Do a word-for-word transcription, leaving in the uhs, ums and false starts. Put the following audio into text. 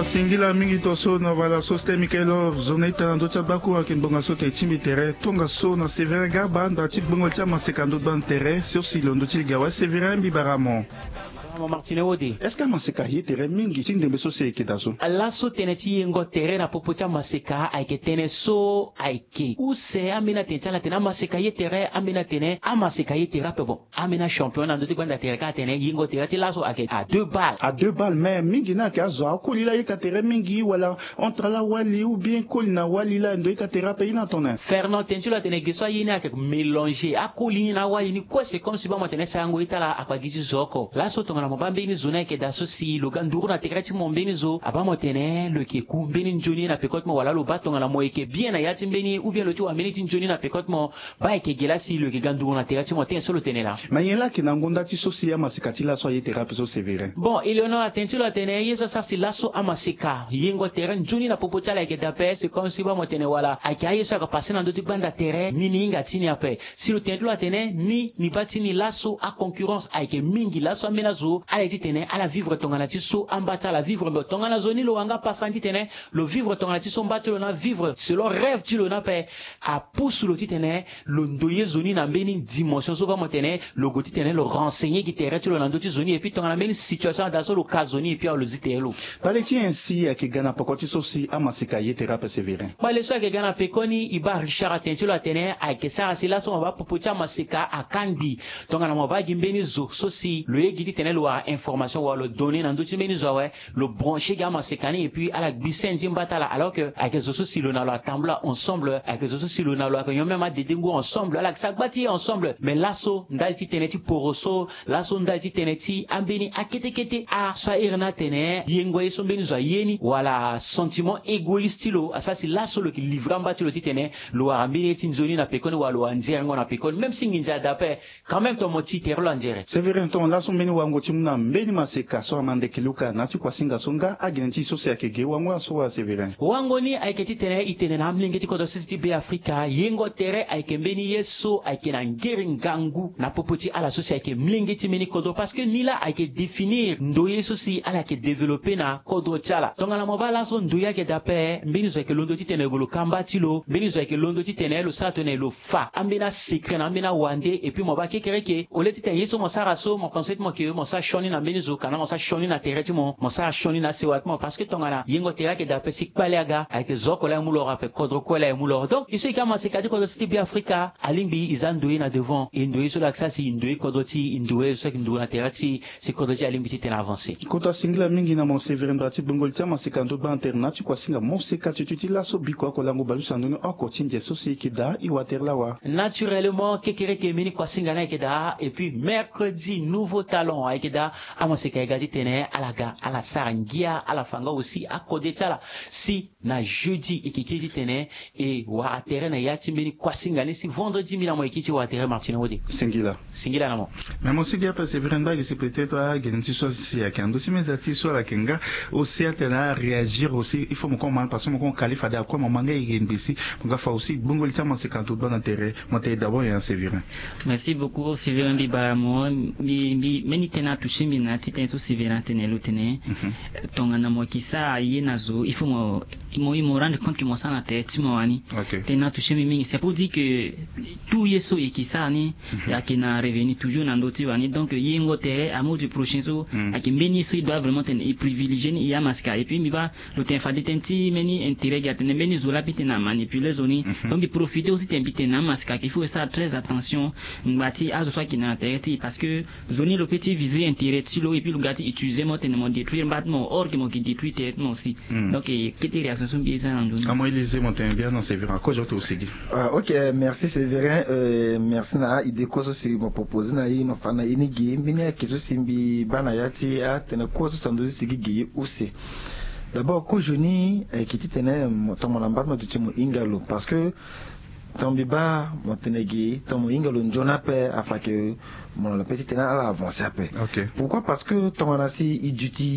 Singila mingi to so na wala so sten Michael Love zo na ita na ndö ti abakuru ayeke ngbonga so tene e tingbi tere tongaso na Sévérin Garba nda ti gbongoli ti amaseka ndö ti gbani tere so si lo ndö ti li ga awe Sévérin Mbibaramo. Martine Wode. Est-ce que amaseka aye tere mingi ti ndembe so si e yeke daa so? Laso tënë ti yengo tere na popo ti amaseka ayeke tënë so ayeke use ambeni atene ti ala tene amaseka aye tere ambeni atene amaseka aye tere ape bon. Ambeni achampion na ndö ti gbanda tere kâ atene yengo tere ti laso ayeke à deux balles. À deux balles mais mingi ni ayeke azo akoli laa ayeka tere mingi wala entre ala wali ou bien koli na wali laa ndo ayeka tere ape ye ni atene? Fernand, tënë ti lo atene ge so aye ni ayeke mélanger akoli ni na awali ni kue. C'est comme si baa mo tene sarango ye ti ala akpa gi ti zo oko. Laso tongana mo baa mbeni zo ni ayeke daa so si lo ga nduru na tere ti mo mbeni zo abaa mo tene lo yeke ku mbeni nzoni ye na peko ti mo wala lo baa tongana mo yeke bien na ya ti mbeni ou bien lo ti wara mbeni ti nzoni na peko ti mo. Baa e yeke ge laa si lo yeke ga nduru na tere ti mo tënë so lo tene laa. Ma nyen laa ayeke na ngonda ti so si amaseka ti laso aye tere ape so Sévérin? Bon, e lo na atene ti lo atene ye so asara si laso amaseka yengo tere nzoni na popo ti ala ayeke daa ape. C'est comme si baa mo tene wala ayeke aye so ayeke passe na ndö ti gbanda tere ni ni hinga ti ni ape. Si lo tene ti lo atene ni ni baa ti ni laso aconcurrence ayeke mingi laso ambeni azo ala ye ti tene ala vivre tongana ti so amba ti ala vivre mbe tongana zo ni lo wara nga pasa ni ti tene lo vivre tongana ti so mba ti lo na vivre selon rêve ti lo ni ape. Apusu lo titene lo ndoye zo ni na mbeni dimension so baa mo tene lo gue titene lo renseigner gi tere ti lo na ndö ti zo ni epui tongana mbeni situation ada so lo ka zo ni epui awe lo zi tere lo. Pale ti nyen si ayeke ga na peko ti so si amaseka aye tere ape Sévérin? Pale so ayeke ga na peko ni e baa Richard atene ti lo atene ayeke sara si laso mo baa popo ti amaseka akangbi. Tongana mo baa gi mbeni zo so si lo ye gi titene lo wara information wala lo donner na ndö ti mbeni zo awe lo brancher gi amaseka ni epui ala gbise nzimba ti ala alors que ayeke zo so si lo na lo atambula ensemble ayeke zo so si lo na lo ayeke nyon même adede ngu ensemble ala yeke sara gba ti ye ensemble mais laso ndali ti tënë ti poro so laso ndali ti tënë ti ambeni akete kete aso ahere ni atene yengo ye so mbeni zo aye ni wala sentiment égoïste ti lo asara si laso lo yeke livrer amba ti lo titene lo wara mbeni ye ti nzoni na pekoni wala lo wara nzerengo na pekoni même si nginza ada ape. Quand même ton mo ti tere lo anzere. Sévérin ton laso mbeni wango ti mu na mbeni maseka so ama ndeke luka na ti kuasinga so nga agene ti so si ayeke ge wango aso wa Sévérin? Wango ni ayeke titene e tene na amolenge ti kodro sese ti be afrika yengo tere ayeke mbeni ye so ayeke na ngere ngangu na popo ti ala so si ayeke molenge ti mbeni kodro parce que ni laa ayeke définir ndoye so si ala yeke développer na kodro ti ala tongana mo baa laso ndoye ayeke daa ape mbeni zo ayeke londo titene lo ka mba ti lo mbeni zo ayeke londo titene lo sara tone lo fa ambeni asecret na ambeni awande epui mo baa kekereke au lieu titene ye so mo sara so mo pense ti mo ke mo sara sioni na mbeni zo kana mo sara sioni na tere ti mo mo sara sioni na asewa ti mo parce que tongana yengo tere ayeke daa ape si kpale aga ayeke zo oko laa e mu loro ape kodro kue laa e mu loro donc e so e ke amaseka ti kodro ti ti be afrika alingbi e za ndoye na devant e ndoye so laa ayeke sara si e ndoye kodro ti e e ndoye so ayeke nduru na tere ti si kodro ti e alingbi titene avancer. Kota singila mingi na mo Sévérin ndara ti gbongoli ti amaseka ndo gba na tere na ti kuasinga moseka tutu ti laso biko oko lango baleuse na ndoni oko ti nze so si e yeke daa e wa tere lawa. Naturellement kekereke mbeni kuasinga ni ayeke daa epui mercredi nouveau talent ayeke daa. Amaseka e ga titene ala ga ala sara ngia ala fa nga aussi akode ti ala si na jeudi e yeke kiri titene e wara tere na ya ti mbeni kuasinga ni si vendredi mbi na mo e kiri ti wara tere martine wode. Singila. Singila na mo. Mais mo sigi ape Sévérin ndagi si peut-être agene ti so si ayeke na ndö ti meza ti so ala yeke nga aussi atene aréagir aussi il faut mo koma parce que mo koma kali fade akue mo ma nga e yeke ngbe si mo ga fa aussi gbongoli ti amaseka ndo gba na tere. Mo tene d'abord ya Sévérin. Merci beaucoup Sévérin mbi bara mo mbi mbi mbeni tënë atoucher mbi na ya ti tënë so Sévérin atene lo tene tongana mo yeke sara ye na zo il faut mo mo rendre compte ke mo sara na tere ti mo wani. Tënë atoucher mbi mingi c'est pour dire que tout ye so e yeke sara ni e yeke na revenu toujours na ndö ti wani donc yengo tere amour du prochain so ayeke mbeni ye so e doit vraiment tene e privilégier ni e amasika epui mbi baa lo tene fade tënë ti mbeni intérêt gi atene mbeni zo laa mbi tene amanipuler zo ni. Donc mbi profiter aussi tene mbi tene na amasika ke il faut e sara très attention ngba ti azo so ayeke na tere ti e parce que zo ni lo pe ti viser intérêt ti lo epui lo ga ti utiliser mo tene mo détruire mba ti mo or ke mo yeke détruire tere ti mo aussi. Donc kete réaction so mbi ye za na ndoni. Amo elise mo tene bien non c'est vrai akozo to osigi. Ah ok, merci Sévérin. Merci na a-idée kue so si mo proposer na ye mo fa na ye ni ge mbeni ayeke so si mbi baa na ya ti atene kue so si ando ti sigi ge ye use. D'abord kozo ni ayeke titene mo tongana mba ti mo duti mo hinga lo parce que tongana mbi baa mo tene ge tongana mo hinga lo nzoni ape afa ke mo na lo pe titene ala avancer ape. Pourquoi parce que tongana si e duti